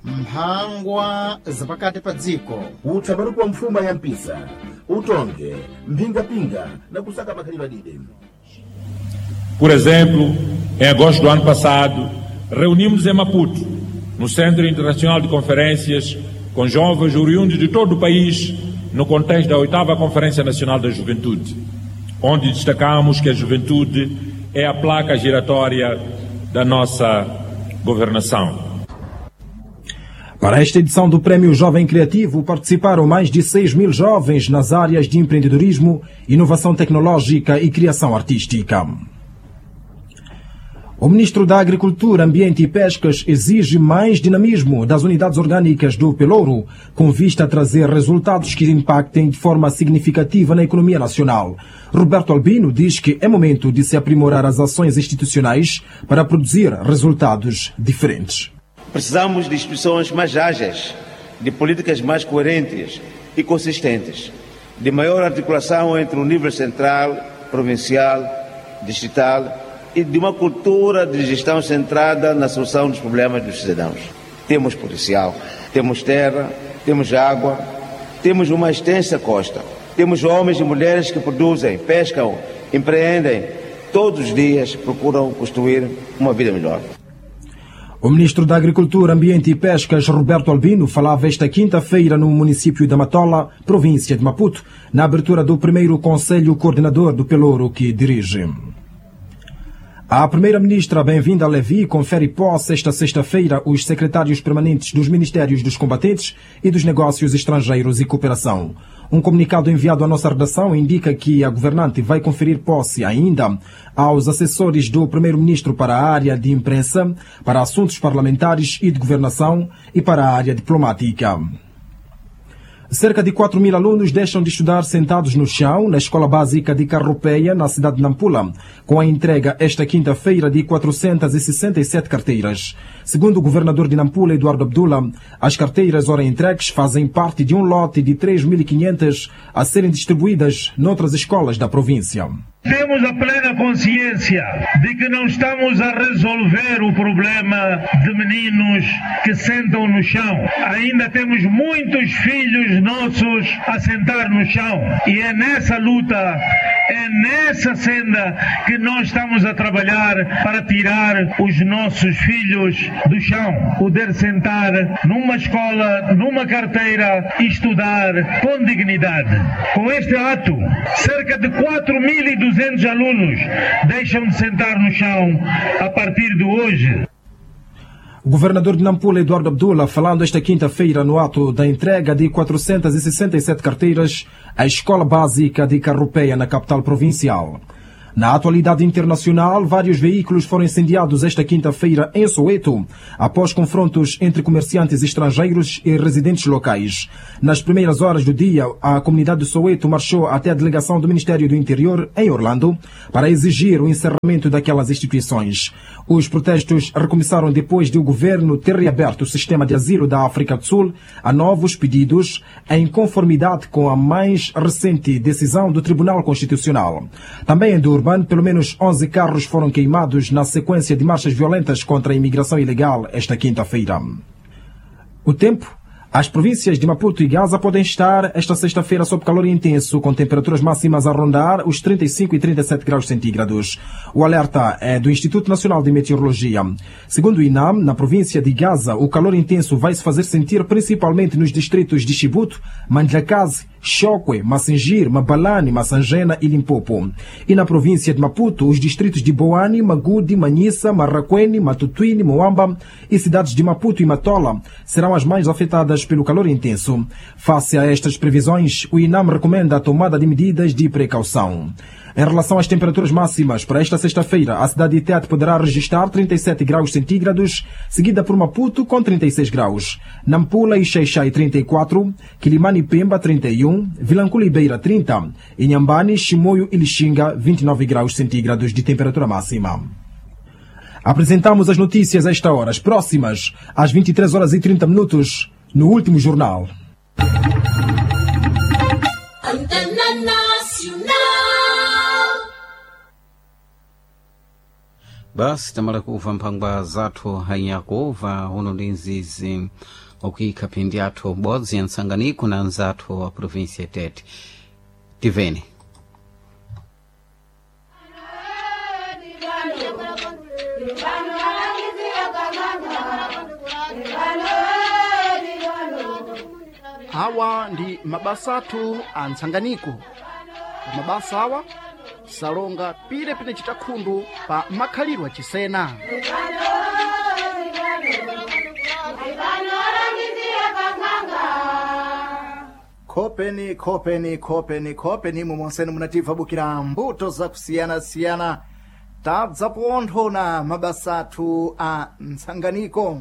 Mphangwa zapakati pa dziko. Utsabaruku wa mfuma ya mpisa utonge mphingapinga na kusaka makhalidwe adide. Por exemplo, em agosto do ano passado, reunimos em Maputo, no Centro Internacional de Conferências, com jovens oriundos de todo o país, no contexto da oitava Conferência Nacional da Juventude, onde destacamos que a juventude é a placa giratória da nossa governação. Para esta edição do Prémio Jovem Criativo participaram mais de seis mil jovens nas áreas de empreendedorismo, inovação tecnológica e criação artística. O ministro da Agricultura, Ambiente e Pescas exige mais dinamismo das unidades orgânicas do Pelouro, com vista a trazer resultados que impactem de forma significativa na economia nacional. Roberto Albino diz que é momento de se aprimorar as ações institucionais para produzir resultados diferentes. Precisamos de instituições mais ágeis, de políticas mais coerentes e consistentes, de maior articulação entre o nível central, provincial, distrital e de uma cultura de gestão centrada na solução dos problemas dos cidadãos. Temos potencial, temos terra, temos água, temos uma extensa costa, temos homens e mulheres que produzem, pescam, empreendem, todos os dias procuram construir uma vida melhor. O ministro da Agricultura, Ambiente e Pescas, Roberto Albino, falava esta quinta-feira no município da Matola, província de Maputo, na abertura do primeiro Conselho Coordenador do Pelouro que dirige. A primeira-ministra Benvinda Levi confere posse esta sexta-feira os secretários permanentes dos Ministérios dos Combatentes e dos Negócios Estrangeiros e Cooperação. Um comunicado enviado à nossa redação indica que a governante vai conferir posse ainda aos assessores do primeiro-ministro para a área de imprensa, para assuntos parlamentares e de governação e para a área diplomática. Cerca de quatro mil alunos deixam de estudar sentados no chão na Escola Básica de Carropeia, na cidade de Nampula, com a entrega esta quinta-feira de quatrocentas e sessenta e sete carteiras. Segundo o governador de Nampula, Eduardo Abdullah, as carteiras ora entregues fazem parte de um lote de três mil e quinhentas a serem distribuídas noutras escolas da província. Temos a plena consciência de que não estamos a resolver o problema de meninos que sentam no chão. Ainda temos muitos filhos nossos a sentar no chão. E é nessa luta, é nessa senda que nós estamos a trabalhar para tirar os nossos filhos do chão. Poder sentar numa escola, numa carteira e estudar com dignidade. Com este ato, cerca de quatro mil e duzentos alunos deixam de sentar no chão a partir de hoje. O governador de Nampula, Eduardo Abdullah, falando esta quinta-feira no ato da entrega de quatrocentas e sessenta e sete carteiras à Escola Básica de Carropeia, na capital provincial. Na atualidade internacional, vários veículos foram incendiados esta quinta-feira em Soweto, após confrontos entre comerciantes estrangeiros e residentes locais. Nas primeiras horas do dia, a comunidade de Soweto marchou até a delegação do Ministério do Interior, em Orlando, para exigir o encerramento daquelas instituições. Os protestos recomeçaram depois de o governo ter reaberto o sistema de asilo da África do Sul a novos pedidos, em conformidade com a mais recente decisão do Tribunal Constitucional. Também em Durban, pelo menos onze carros foram queimados na sequência de marchas violentas contra a imigração ilegal esta quinta-feira. O tempo. As províncias de Maputo e Gaza podem estar esta sexta-feira sob calor intenso, com temperaturas máximas a rondar os trinta e cinco e trinta e sete graus centígrados. O alerta é do Instituto Nacional de Meteorologia. Segundo o INAM, na província de Gaza, o calor intenso vai se fazer sentir principalmente nos distritos de Chibuto, Mandlakazi, Chokwe, Massingir, Mabalane, Massangena e Limpopo. E na província de Maputo, os distritos de Boane, Magude, Manhissa, Marraquene, Matutuine, Moamba e cidades de Maputo e Matola serão as mais afetadas pelo calor intenso. Face a estas previsões, o INAM recomenda a tomada de medidas de precaução. Em relação às temperaturas máximas, para esta sexta-feira, a cidade de Tete poderá registrar trinta e sete graus centígrados, seguida por Maputo com trinta e seis graus, Nampula e Xaixai trinta e quatro, Quilimane e Pemba trinta e um, Vilanculo e Beira trinta, Inhambane, Chimoio e Lixinga vinte e nove graus centígrados de temperatura máxima. Apresentamos as notícias a esta hora, as próximas, às vinte e três horas e trinta minutos, no último jornal. Antena Nacional. Basi tamala kuva mphangwa zathu hanyakuva uno ndi nzizi okuyikha phindi athu bodzi ya ntsanganiko na anzathu wa província ya Tete. Tiveni. Awa ndi mabasa athu a ntsanganiko. Mabasa awa salonga pile pine chitakhundu pa makhalidwe achisena. Khopeni, khopeni, khopeni, khopeni imwe monsene munativa bukira mbuto zakusiyana-siyana tabza pontho na mabasa athu a ntsanganiko.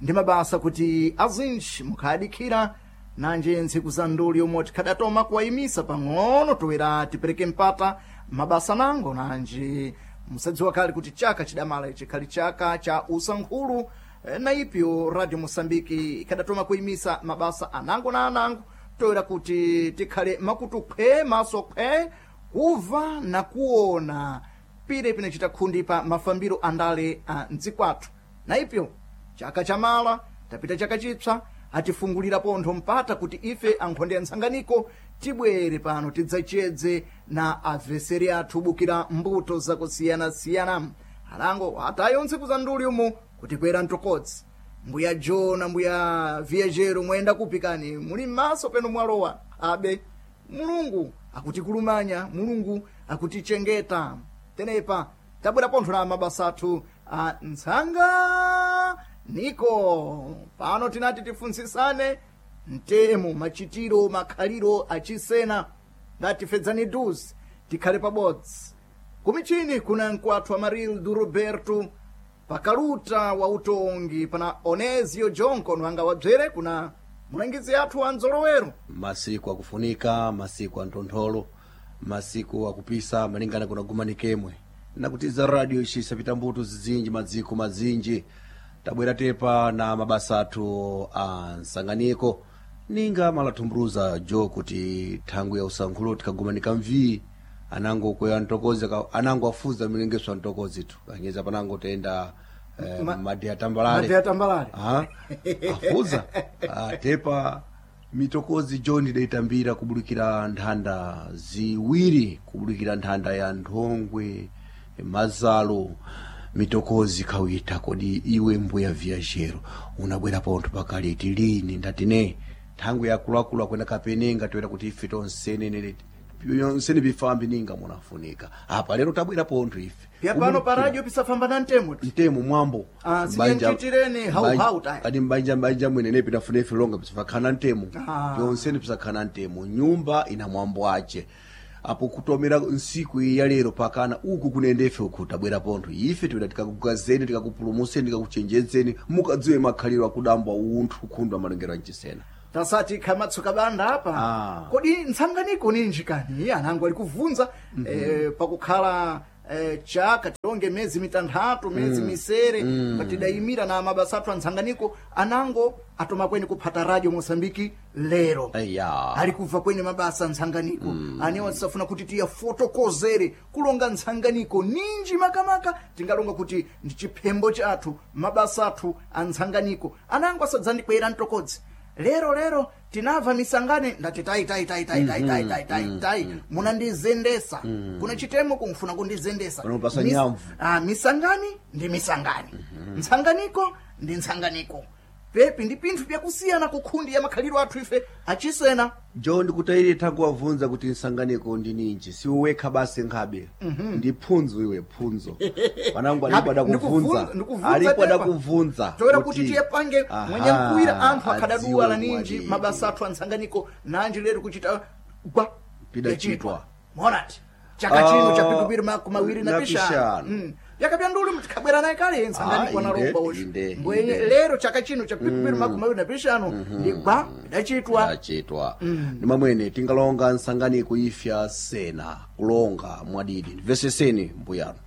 Ndi mabasa kuti azinji mukhadikhira nanje ntsiku za nduli yomwe tikhadatoma kuwayimisa pang'ono toera tipereke mpata mabasa nango nanje musadziwa kale kuti chaka chidamala ichi khali chaka cha usankhulu na ipyo Radio Mosambiki ikhadatoma kuyimisa mabasa anango na anango toera kuti tikhale makutu khwe maso khwe kuva na kuona pile pinachita khundi pa mafambiro andale a mdzikwathu. Na ipyo chaka chamala tapita chaka chipsa atifungulira pontho mpata kuti ife ankhonde ya ntsanganiko tibwere pano tidzachedze na aveseri athu bukira mbuto zakusiyana-siyana. Alango atayo ntsiku za nduli umu kuti kwera mtokodzi. Mbuya Jona, mbuya Viajero mwayenda kupi kani? Muli m'maso peno mwalowa. Abe Mulungu akutikulumanya, Mulungu akutichengeta. Tenepa tabwera pontho na mabasa athu a ntsanga niko pano tinati tifuntsisane mtemo machitiro makhaliro achisena ngatifedzani duzi tikhale pabodzi. Kumichini kuna mkwathu Amarildo Roberto pakaluta wa utongi pana Onesio Jonko nwanga wabzere kuna mulangizi athu wa nzolowero. Masiku akufunika, masiku a ntontholo, masiku akupisa malingana kuna gumanikemwe nakutiza radio ixisa pita mbuto zizinji madziko mazinji tabwera tepa na mabasa athu a nsanganiko ninga malathumbuluza jo kuti thangwi ya usankhulo tikagumanika mvii anango kweya ntokozi anango afuza milengeso ya ntokozi tu kanyeza panango tenda eh, Ma- madeya tambalale Madeya tambalale. Aha, afuza ah, tepa mitokozi john daitambira kubulukira nthanda ziwiri kubulukira nthanda ya nthongwe mazalo mitokozi khawita kodi iwe mbuya viajero unabwera pontho pakaliti lini ndati ne thangwi yakuluakulu akwenda kapenenga toera kuti ife tonsene yonsene bifambi ninga munafunika apa lero tabwera pontho ife Pya pano pa radio pisafamba na mtemo mtemo mwambo Ah, Mbanja- siyanchitireni hau-hau tayi. kadi mbanja mbanja mwene pinafuna ife longa pisafakhala ntemo Ah. yonsene pisakhala ntemo nyumba ina mwambo ace apo kutomera nsiku iyi ya lero pakana uku kunende ife uku tabwera pontho ife tipita tikakugazeni tikakupulumuseni tikakuchenjedzeni mukadziwe makhaliro akudambwa unthu khundwa malengero anchisena tasati khamatsuka banda apa Ah. kodi ntsanganiko ninji kani anango ali kuvunza mm -hmm. eh, pakukhala eh, chaka tilonge miyezi mitanthatu miyezi Mm. misere Mm. patidayimira na mabasa athu antsanganiko anango atoma kweni kuphata radio Mosambiki lero eya ali kubva kweni mabasa antsanganiko mm. anewa tisafuna kuti tiyafotokozere kulonga ntsanganiko ninji makamaka tingalonga kuti ndi chiphembo chathu mabasa athu antsanganiko anango asadzandikwera mtokodzi lero lero tinabva misangane ndati tai tai tai tai tai tai tai tai tai munandizendesa Mm. kuna chitemo kumfuna kundizendesa Panopasa Mis- nyamvu. ah, misangani ndi misangani ntsanganiko ndi ntsanganiko Pepi ndi pinthu byakusiyana ku khundi ya makhalidwe athu ife achisena. Jo, ndikutayire takuwabvunza kuti nsanganiko ndi ninji, siwe wekha basi nkhabe. Mhm. Ndi phunzo iwe, phunzo panangu alipo Ngabe, adakubvunza. ndikuvunza- ndikuvunza Alipo tepa. adakubvunza Toera kuti tiyepange Aha, mwenye mkuwira anthu akhadaduwa la adziwe ninji mwadi. mabasa athu antsanganiko nanji lero kuchita gwa Pidachitwa. Monati chaka chino Ah, cha pikupiri makumi awiri na na pishanu. pishanu. Mm. Yakapya nduli tikhabwera naye kale ntsanganiko Ah, inde, analomba ucho inde, mbwenye inde. lero chaka chino cha pikupiri Mm. makumi awiri na pishanu Mhm. ndi gwa pidachitwa. Pidachitwa. Mm. Ndi mamwene tingalonga nsanganiko ifya sena kulonga mwadidi ndimveseseni mbuyano.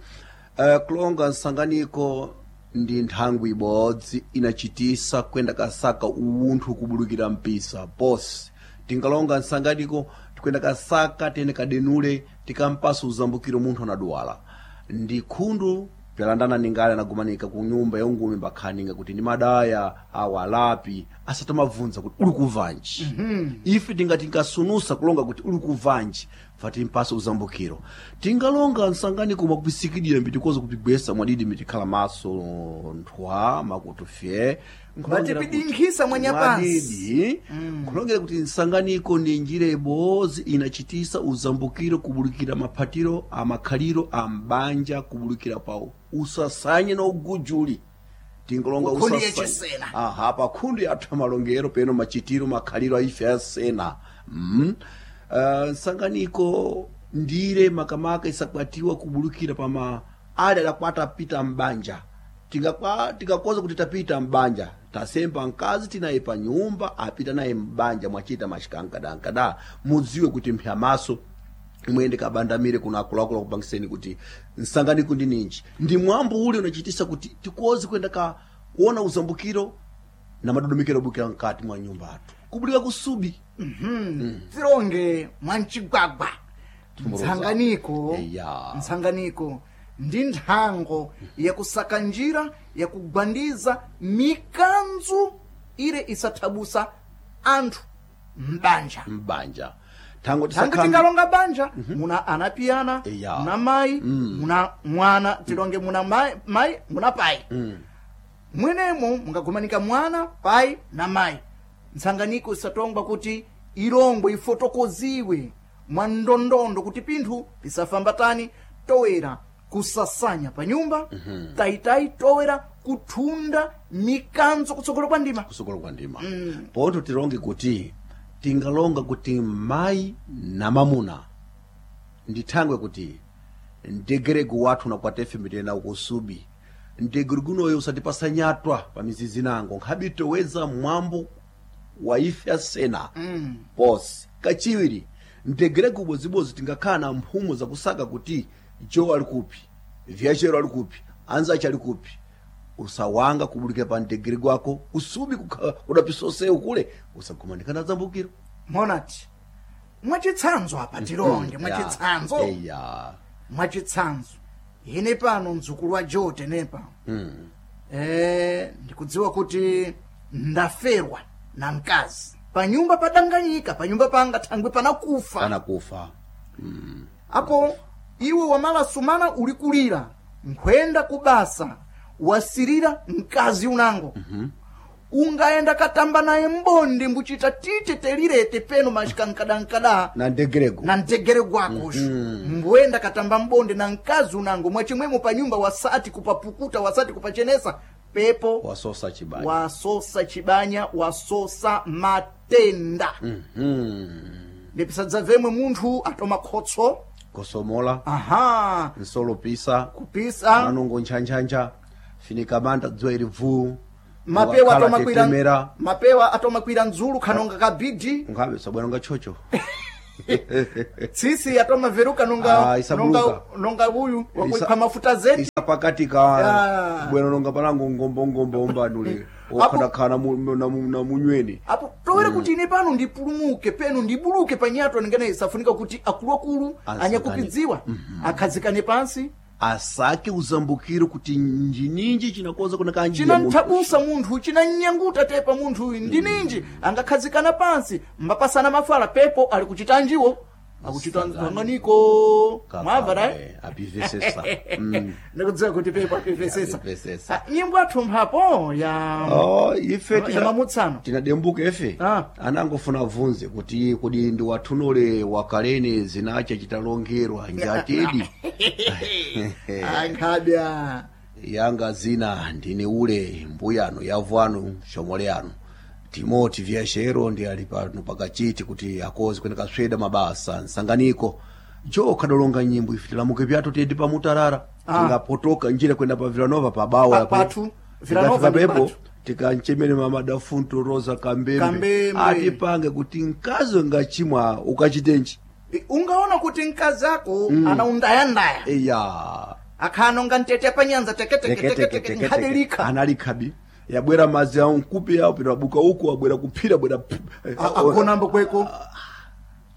Uh, kulonga nsanganiko ndi nthangwi ibodzi inachitisa kwenda kasaka uwunthu kubulukira mpisa posi. Tingalonga nsanganiko tikwenda kasaka tene kadenule tikampasa uzambukiro munthu anaduwala ndi khundu pyalandana ningale anagumanika ku nyumba ya ungumi mbakhaninga kuti ndi madaya awa alapi asatamabvunza kuti uli kuvanji. Ife tingati tinkasunusa kulonga kuti uli kuvanji fati mpasa uzambukiro. Tingalonga nsanganiko mwakupisikidira mbitikoza kupigwesa mwadidi mitikhala maso nthwa makutu fye. Nkulongera kuti- Matipidinkhisa mwanyapansi. Mwadidi kulongera kuti nsanganiko ndi njira ibodzi inachitisa uzambukiro kubulukira maphatiro amakhaliro a mbanja kubulukira pawo usasanye na ugujuli. Tingalonga Kukhundu usasanye. yachisena. Aha, pa khundu yathu amalongero peno machitiro makhaliro aife asena. mm. Uh, nsanganiko ndire makamaka isakwatiwa kubulukira pama ali adakwata apita mbanja. Tingakwa- tingakoza kuti tapita mbanja tasemba mkazi tinaye pa nyumba apita naye mbanja mwachita machikankadankada mudziwe kuti mphyamaso mwende kabandamire kuna akuluakulu akupangiseni kuti nsanganiko ndi ninji ndi mwambo ule unachitisa kuti tikoze kwenda ka kuona uzambukiro na madodomekero obukira mkati mwa nyumba athu kubulika kusubi. Mhm. Tilonge mwancigwagwa ntsanganiko. Eya. Ntsanganiko ndi nthango yakusaka njira yakugwandiza mikanzu ile isathabusa anthu m'banja. Mbanja thango Thango tisakhambi tingalonga banja muna anapiyana, Eya. muna mayi, Mm. muna mwana tilonge muna mai, mai muna pai. Mm. Mwenemo mungagumanika mwana pai na mayi. Ntsanganiko isatongwa kuti ilongwe ifotokoziwe mwa ndondondo kuti pinthu pisafambatani towera kusasanya pa nyumba. Mhm. Tayitayi towera kuthunda mikanzo kutsogolo kwa ndima. Kusogolo kwa ndima. Mm. Poto tilonge kuti tingalonga kuti mayi na mamuna ndithangwe kuti ndegeregu wathu nakwatefe mitena kusubi ndegeregunoyo usatipasa nyatwa pa mizizi nango nkhabitoweza mwambo wa ife asena. Mm. Posi kachiwiri ndegeregu ubodzibozi tingakhala na mphumo zakusaka kuti jo ali kupi, vyachero ali kupi, anzache ali kupi. Usawanga kubulikira pa mtegerego wako usubi kukha- kudapisosewu kule usagumanikana zambukiro. Monati mwachitsanzo apa tilonge Mm, mwachitsanzo. ya, eya. Mwachitsanzo ine pano mdzukulu wa jote nepa. Mm. Eh, ndikudziwa kuti ndaferwa na mkazi panyumba padanganyika panyumba panga thangwe panakufa. Panakufa. mm. Apo iwe wamalasumana uli kulira nkhwenda kubasa wasirira mkazi unango. mm Ungaenda katamba naye mbondi mbuchita tite telirete peno mashikankadankada na ndegerego na mtegere gwako. Mhm. Mbwenda katamba mbonde na mkazi unango mwachimwemo panyumba wasati kupapukuta wasati kupachenesa pepo wasosa chibanya. Wasosa chibanya wasosa matenda. Mhm. Ndipisadza vemwe munthu atoma khotso Kosomola. Aha. Nsolopisa. Kupisa. Manongo nchanchanja finikamanda dzuwa ili bvuu. Mapewa Wakhala atomakwira tetemera. Mapewa atomakwira ndzulu khanonga kabidi. Nkhabe sabwera nga chocho. Tsisi atomaveruka nonga Ah, isabuluka. nonga nonga uyu Isa- wakuipha mafuta zeti. Isa pakati ka Ah. bwera nonga panango ngombongombo ombanule okhanakhala mu- na mu- na munyweni. Apo towere kuti ine pano ndipulumuke peno ndibuluke panyato ningene isafunika kuti akuluakulu Asakane. anyakupidziwa akhazikane pansi asake uzambukiro kuti njininji chinakonza kuna kanjiya munthu. Chinanthabusa munthu chinanyanguta tepa munthu uyu ndi ninji angakhazikana pansi mbapasana mafala pepo ali kuchitanjiwo. Akuchita nsanganiko. Mwamva dai? Apivesesa. Mm. Ndikudziwa kuti pepo apivesesa. Apivesesa. Ah, nyimbo athu mphapo ya Oh, ife ya tina- mamutsano. tinadembuka ife anangofuna abvunze kuti kodi ndi wathunole wakalene zinacha chitalongerwa njatedi. Ankhabya. Yanga zina ndine ule mbuyano yavwanu shomole yanu Timoti Vyashero ndi ali pano pakachiti kuti akozi kwene kasweda mabasa nsanganiko jo kadolonga nyimbo ife tilamuke pyathu tiyende pamutarara. Ah. Tingapotoka njira kwenda pa Villanova pabawa. Pa- pathu. Villanova ndi pepo pathu. tikanchemene mama dafunto Rosa Kambembe, Kambembe. Atipange kuti mkazi ngachimwa ukachitenji. Ungaona kuti mkazi ako Mm. anaundayandaya. Eya. Akhanonga ntete panyanza teke teke teke teke nkhadelika. Analikhabi yabwera madzi awo nkupi yawo pino abuka uku abwera kuphira abwera Agonambo kweko.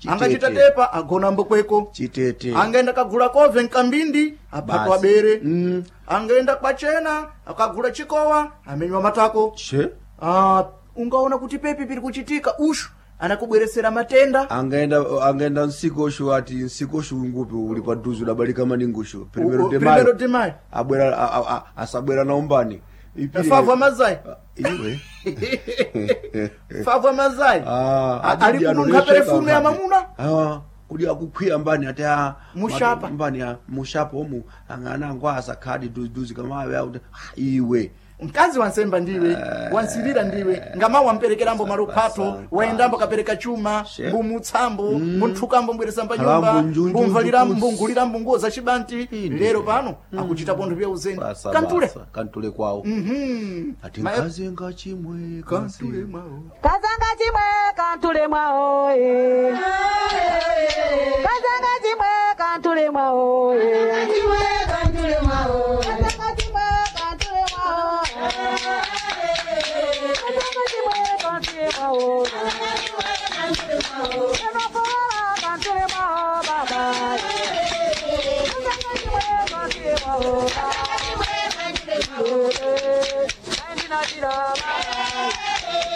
Angachita tepa agonambo kweko. Chitete. Angaenda kagula kove nkambindi aphatwa Basi. bere. Angaenda kwachena akagula chikowa amenywa matako. Che. Ah, ungaona kuti pepi piri kuchitika ushu anakubweresera matenda. Angaenda angaenda nsikoshu ati nsikoshu ngupi uli paduzu dabalika maningushu primero U- de Primero mayo de mayo. Abwera a- a- a- asabwera naumbani Ipire- Favu amazai. Iwe. Favu amazai. Ah, A- ali ati kununkha ano perefume ya mamuna. Ah, kudi akukhwiya mbani ati ah, Mushapa. mati- mbani ah, mushapa omu angana angu asakhadi duziduzi kamawe akuti ah, iwe. Mkazi wansemba ndiwe, wansirira ndiwe, ngama wamperekerambo maluphato, waendambo kapereka chuma, mbumutsambo, mbunthukambo mbweresamba nyumba, Kalambo njunju mbumvalirambo, njukutsi. mbungulirambo nguwo za chibanti, lero pano akuchita pontho pya uzeni. Basa, Kantule. basa, kantule kwawo. Mhm. Ati Ma- mkazi ngachimwe Kantule mwawo. Kazanga chimwe kantule mwao eh. Kazanga chimwe kantule mwao eh. Kazanga chimwe kantule mwao. Kazanga chimwe kantule mwao. Kazanga chimwe kantule mwao. Emakola kantule mwao baba. Kazanga chimwe kantule mwao. Ndina dira baba.